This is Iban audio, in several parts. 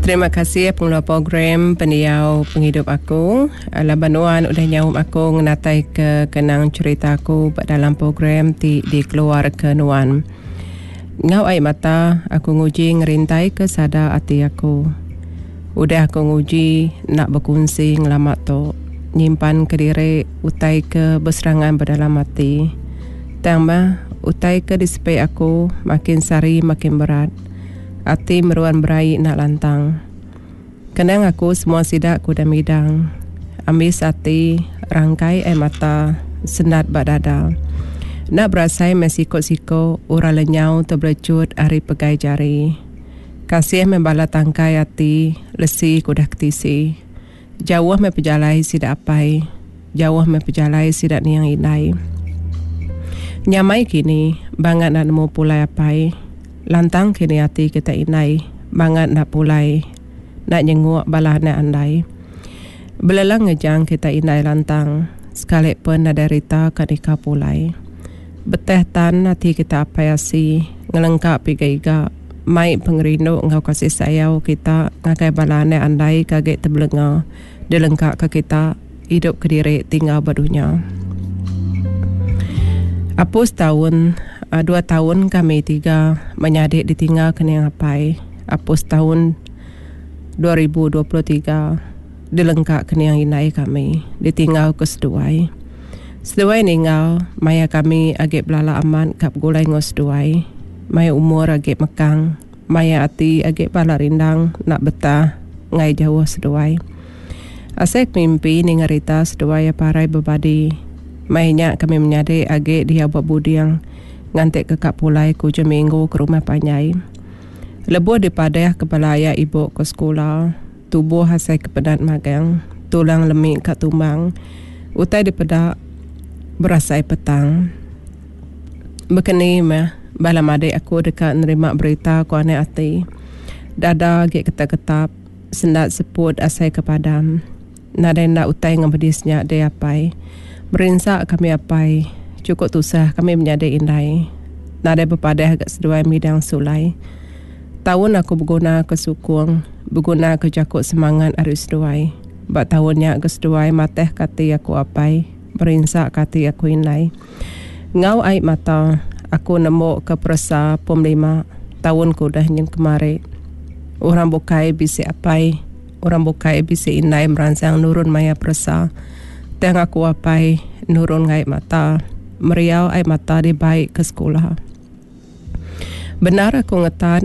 Terima kasih pengeluar program Pendiau Pengidup Aku laban nuan udah nyaup aku ngenataika kenang cherita aku ba dalam program ti dikeluarka nuan. Enggau ai mata aku nguji ngerintaika sada ati aku. Udah aku nguji enda bekunsi ngelama tu nyimpan kediri utai ke beserangan ba dalam ati. Tang mah utai ke disepi aku makin sehari makin berat. Ati meruan beraie enda lantang. Kenang aku semua sida ke udah midang. Ambis ati, rangkai ai mata, sendat ba dada. Enda berasai meh siko-siko orang lenyau tebelecut ari pegai jari. Kasih meh bala tangkai ati lesi ke udah ketisi. Jauh meh pejalai sida apai. Jauh meh pejalai sida niang indai. Nyamai kini, bangat enda nemu pulai apai. Lantang kini ati kita indai, bangat enda pulai enda nyenguk bala anak andai. Belelang ngejang kita indai lantang, sekali pen nadai rita ka nika pulai. Beteh tan ati kita apai asi, ngelengka piga iga. Mai pengerindu enggau kasih sayau kita ngagai bala anak andai ke agi tebelenga dilengkaka kita idup kediri tinggal ba dunya. Apus taun dua taun kami tiga menyadi ditinggal kening apai apus taun 2023 dilengka kening indai kami ditinggal ke seduai. Seduai ninggal maya kami agi belala amat ka begulai enggau seduai. Maya umur agi mekang, maya ati agi bala rindang enda betah enggai jauh seduai. Asai ke mimpi ninga rita seduai iya parai bebadi. Maya nya kami menyadi agi diau ba buding nganti ke ka pulai ke ujung minggu ke rumah panjai. Lebuh dipadah ke bala aya ibu ke sekula, tubuh asai ke penat magang, tulang lemi ka tumbang, utai dipeda berasai petang. Bekeni meh bala madik aku deka nerima berita ku anak ati. Dada agi ketap-ketap, sendat seput asai ke padam. Nadai enda utai ngemedis nya deh apai. Merinsa kami apai, chukup tusah kami menyadi indai. Nadai bepadah ga seduai midang sulai. Taun aku beguna ke sukung, beguna ke jaku semangat ari seduai. Ba taun nya ga seduai matah ke ati aku apai, merinsa ke ati aku indai. Enggau ai mata, aku nembuka peresa pom lima taun ke udah nyin kemari. Orang bukai bisi apai, orang bukai bisi indai meransang nurun maya peresa. Tang aku apai nurun ai mata, meriau ai mata dibai ke sekula. Bendar aku ngetat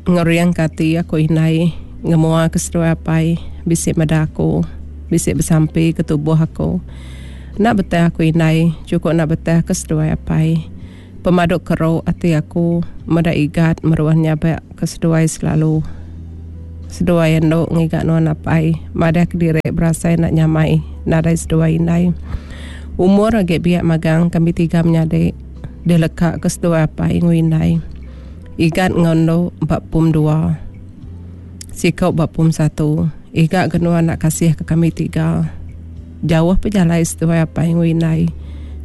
ngeringka ati aku indai ngemua ke seduai apai bisi meda aku, bisi besampi ke tubuh aku. Enda betah aku indai, chukup enda betah ke seduai apai. Pemadu keru ati aku meda Igat meruan nyabak ke seduai selalu. Seduai endu ngiga nuan apai, madah kediri berasai enda nyamai nadai seduai indai. Umur agi biak magang kami tiga menyadi dileka ke seduai apai enggau indai. Igat enggau endu ba pum dua. Siku ba pum satu. Iga ke nuan enda kasih ke kami tiga. Jauh pejalai seduai apai enggau indai.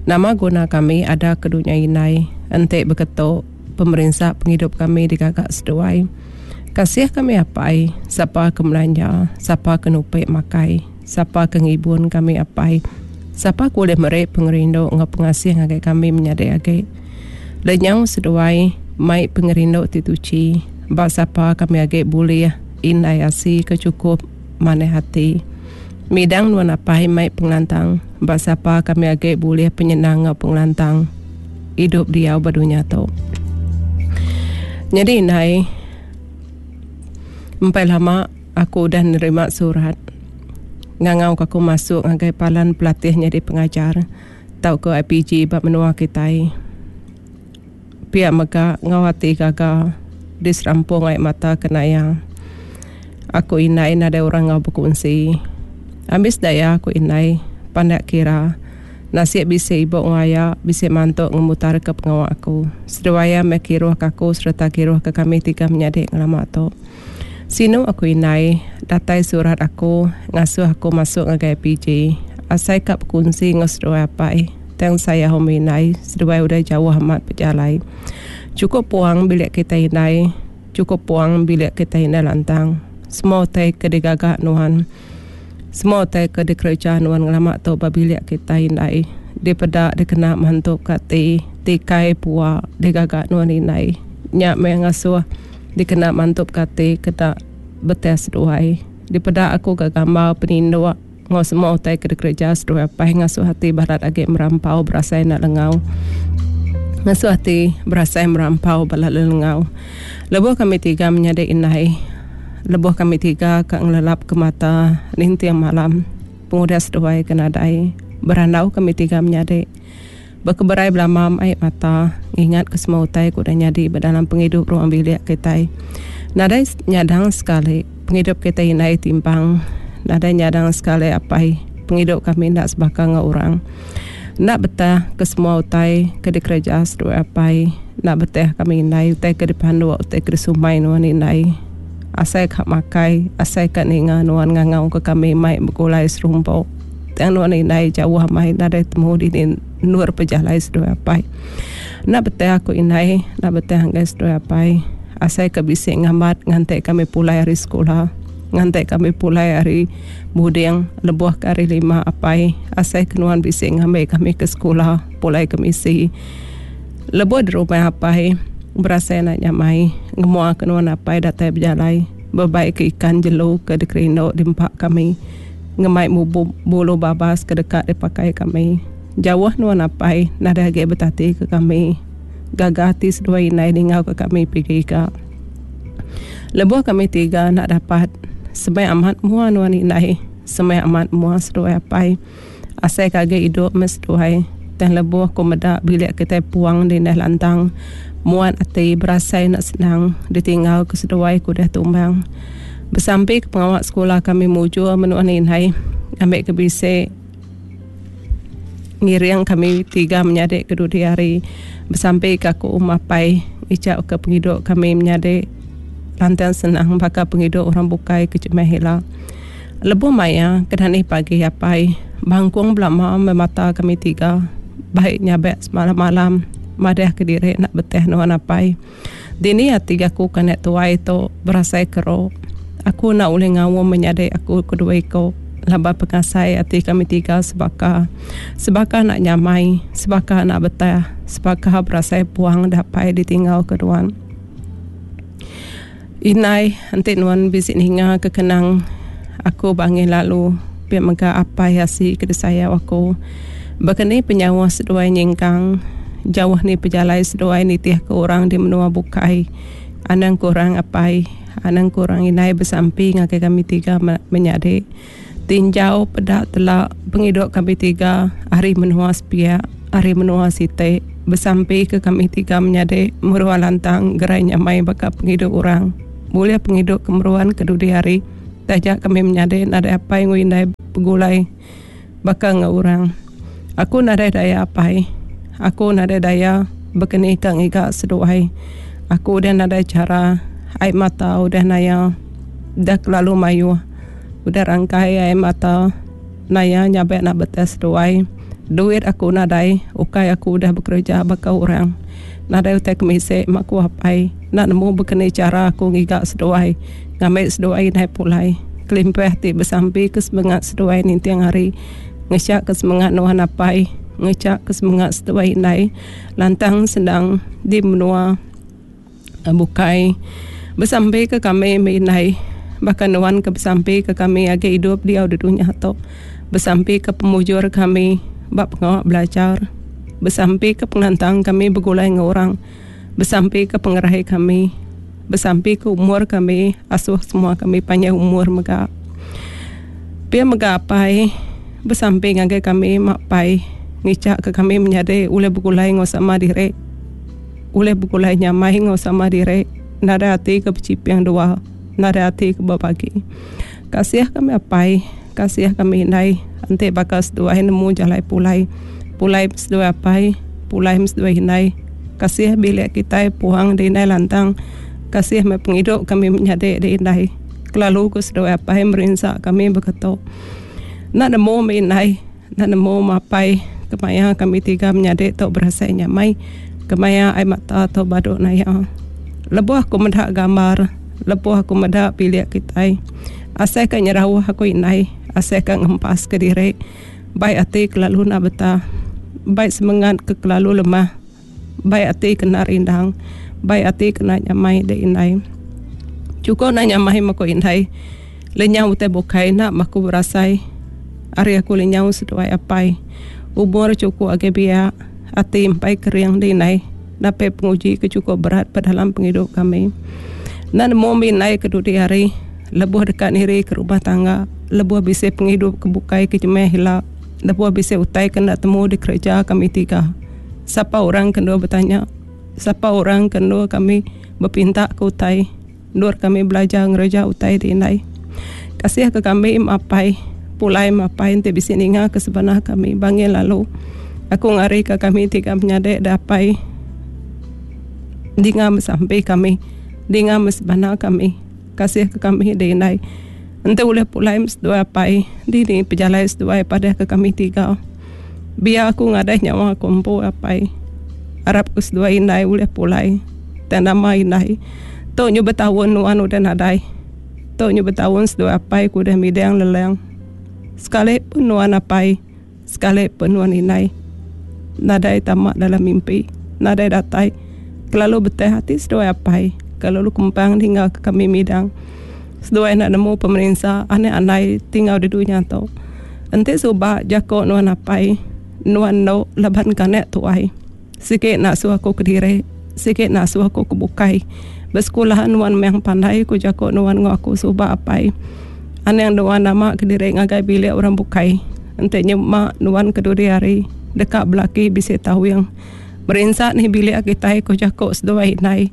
Nama guna kami ada ke dunya indai enti beketu pemerinsa pengidup kami digaga seduai. Kasih kami apai, sapa ke melanja, sapa ke nupi makai, sapa ke ngibun kami apai, sapa ke ulih meri pengerindu enggau pengasih ngagai kami menyadi agi. Lenyau seduai mai pengerindu ti tuchi ba sapa kami agi bulih indai asi ke chukup manah ati. Midang nuan apai mai pengelantang ba sapa kami agi bulih penyenang enggau pengelantang idup diau ba dunya tu. Nyadi indai empai lama aku udah nerima surat ngangau ka aku masuk ngagai palan pelatih nyadi pengajar tauka IPG ba menua kitai. Pia mega enggau ati gaga diserampung ai mata kena iya. Aku indai nadai orang enggau bekunsi. Ambis daya aku indai pandak kira. Nasib bisi ibu enggau aya bisi mantu ngemutarka pengawa aku. Seduai iya meh kiruhka aku sereta kiruhka kami tiga menyadi ngelama tu. Sinu aku indai, datai surat aku ngasuh aku masuk ngagai PJ. Asai ka bekunsi enggau seduai apai. Tang saya home indai, seduai udah jauh amat pejalai. Chukup puang bilik kitai indai, chukup puang bilik kitai indai lantang. Semua utai ke digaga nuan. Semua utai ke dikereja nuan ngelama tu ba bilik kitai indai. Dipeda dikena mantup ka ati tikai pua digaga nuan indai. Nya meh ngasuh dikena mantup ka ati keda beteh seduai. Dipeda aku ga gambar peninduk enggau semua utai ke dikereja seduai apai ngasuh ati balat agi merampau berasai enda lengau. Ngasuh ati berasai merampau balat lelengau. Lebuh kami tiga menyadi indai. Lebuh kami tiga ka ngelelap ke mata ninting malam pengudah seduai ke nadai berandau kami tiga menyadi. Bekeberai belama ai mata ngingat ke semua utai ke udah nyadi ba dalam pengidup ruang bilik kitai. Nadai nyadang sekali pengidup kitai indai timpang. Nadai nyadang sekali apai pengidup kami enda sebaka enggau orang. Enda betah ke semua utai ke dikereja seduai apai. Enda betah kami indai utai ke dipanduk utai ke disumai nuan indai. Asai ka makai asai ka ninga nuan ngangau ke kami mai begulai serumpok. Tang nuan indai jauh amai nadai temu dini endur pejalai seduai apai. Enda beteh aku indai, enda beteh enggai seduai apai. Asai ke bisi ngambat nganti kami pulai ari sekula, nganti kami pulai ari buding lebuh ke hari lima apai. Asai ke nuan bisi ngambi kami ke sekula pulai ke misi. Lebuh di rumah apai berasai enda nyamai ngemua ke nuan apai datai bejalai bebai ke ikan jelu ke dikerindu diempa kami. Ngemai mubu bulu babas ke deka dipakai kami. Jauh nuan apai nadai agi betati ke kami. Gaga ati seduai indai ningau ke kami pigi iga. Lebuh kami tiga enda dapat, semai amat mua nuan indai, semai amat mua seduai apai. Asai ke agi idup meh seduai. Tang lebuh ku meda bilik kitai puang di indai lantang, muat ati berasai enda senang ditinggal ke seduai ke udah tumbang. Besampi ke pengawa sekula kami mujur menua indai ngambi ke bisi ngiring kami tiga menyadi ke dudi hari. Besampi ke aku mapai ngicha ke pengidup kami menyadi lantang senang baka pengidup orang bukai ke jemah ila. Lebuh maya ke dani pagi apai bangkung belama meh mata kami tiga bai nyabak semalam-malam madah kediri enda beteh nuan apai. Dini ati aku ke anak tuai tu berasai keru. Aku enda ulih ngaum menyadi aku kedua iku laban pengasai ati kami tiga sebaka. Sebaka enda nyamai, sebaka enda betah, sebaka berasai puang dapai ditinggal ke nuan. Indai enti nuan bisi ninga ke kenang aku ba angin lalu pia mega apai asi ke disayau aku. Baka ni penyauh seduai nyingkang jauh ni pejalai seduai nitih ke orang di menua bukai. Anang kurang apai, anang kurang indai besampi ngagai kami tiga menyadi. Tinjau peda tela pengidup kami tiga ari menua sepiak, ari menua siti. Besampi ke kami tiga menyadi meruan lantang gerai nyamai baka pengidup orang. Bulih pengidup ke meruan ke dudi hari. Taja kami menyadi nadai apai enggau indai begulai. Baka enggau orang. Aku nadai daya apai. Aku nadai daya bekeni ka ngiga seduai. Aku udah nadai chara. Ai mata udah naya. Udah kelalu mayuh. Udah rangkai ai mata naya nyabek nak betes seduai. Duit aku nadai. Ukai aku udah bekereja baka orang. Nadai utai kemisi mak ku apai. Enda nemu bekeni chara aku ngiga seduai. Ngambi seduai indai pulai. Kelimpah ti besampi ke semengat seduai ninting hari. Ngecha ke semengat nuan apai. Ngecha ke semengat seduai indai. Lantang senang di menua bukai. Besampi ke kami meh indai. Baka nuan ke besampi ke kami agi idup diau di dunya tu. Besampi ke pemujur kami ba pengawa belajar. Besampi ke pengelantang kami begulai enggau orang. Besampi ke pengerai kami. Besampi ke umur kami asuh semua kami panjai umur mega. Pia mega apai besampi ngagai kami mak pai ngicha ke kami menyadi ulih begulai enggau sama diri. Ulih begulai nyamai enggau sama diri nadai ati ke bechiping dua nadai ati ke bebagi. Kasih kami apai kasih kami indai enti baka seduai nemu jalai pulai. Pulai seduai apai pulai seduai indai. Kasih bilik kitai puang di indai lantang. Kasih meh pengidup kami menyadi di indai. Kelalu ku seduai apai merinsa kami beketu. Enda nemu meh indai, enda nemu meh apai kemaya kami tiga menyadi tu berasai nyamai. Kemaya ai mata tu badu naya. Lebuh aku meda gambar. Lebuh aku meda bilik kitai. Asai ka nyerauh aku indai, asai ka ngempas ke diri. Bai ati kelalu enda betah. Bai semengat ke kelalu lemah. Bai ati kena rindang. Bai ati kena nyamai dek indai. Chukup enda nyamai meh ku indai. Lenyau utai bukai enda meh aku berasai. Ari aku lenyau seduai apai. Umur chukup agi biak. Ati empai kering dek indai. Napi penguji ke chukup berat ba dalam pengidup kami. Enda nemu mih indai ke dudi hari lebuh deka niri ke rumah tangga, lebuh bisi pengidup ke bukai ke jemeh ila, lebuh bisi utai ke enda temu dikereja kami tiga. Sapa orang ke endur betanya? Sapa orang ke endur kami bepinta ke utai? Endur kami belajar ngereja utai ti indai. Kasih ke kami mapai pulai mapai enti bisi ninga ke sebanah kami bangil lalu. Aku ngari ke kami tiga menyadi da apai dinga besampi kami dinga mesebana kami. Kasih ke kami di indai. Enti ulih pulai seduai apai dini pejalai seduai padah ke kami tiga. Biar aku ngadai nyawa aku empu apai. Arap ke seduai indai ulih pulai. Tang nama indai. Tu nyu betaun nuan udah nadai. Tu nyu betaun seduai apai ku udah midang lelang. Sekali pun nuan apai, sekali pun nuan indai. Nadai tama dalam mimpi, nadai datai. Kelalu beteh ati seduai apai, kelalu kempang ninggal ke kami midang. Seduai enda nemu pemerinsa anak andai tinggal di dunya tu. Enti suba jako nuan apai, nuan endo laban ke anak tuai. Sigi enda suah aku kediri, sigi enda suah aku ke bukai. Besekula nuan meh pandai ku jaku nuan enggau aku suba apai. Anang nuan nama kediri ngagai bilik orang bukai. Enti nyema nuan ke dudi hari deka belaki bisi tawing. Merinsa nih bilik kitai ku jaku seduai indai.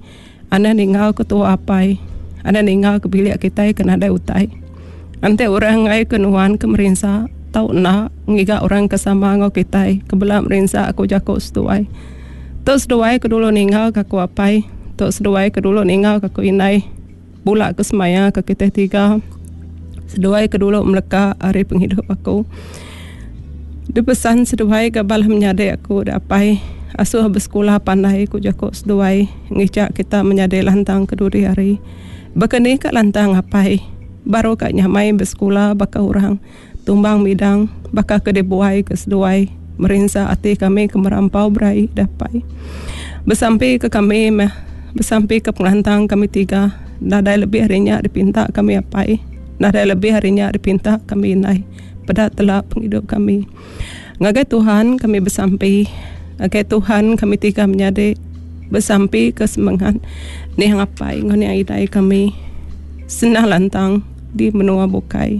Anang ninggal ke tua apai. Anang ninggal ke bilik kitai ke nadai utai. Enti orang enggai ke nuan ke merinsa tau enda ngiga orang ke sama enggau kitai ke bela merinsa ku jaku seduai. Tu seduai ke dulu ninggal ke aku apai. Tu seduai ke dulu ninggal ke aku indai. Bula ke semaya ke kitai tiga. Seduai ke dulu meleka ari pengidup aku. Dipesan seduai ga bala menyadi aku da apai asuh besekula pandai ku jaku seduai ngicha kita menyadi lantang ke dudi hari. Baka ni ka lantang apai baru ka nyamai besekula baka orang tumbang midang baka ke dibuai ke seduai merinsa ati kami ke merampau beraie da apai. Besampi ke kami meh besampi ke pengelantang kami tiga nadai lebih ari nya dipinta kami apai nadai lebih ari nya dipinta kami indai peda tela pengidup kami. Ngagai Tuhan kami besampi ngagai Tuhan kami tiga menyadi besampi ke semengat niang apai enggau niang indai kami senang lantang di menua bukai.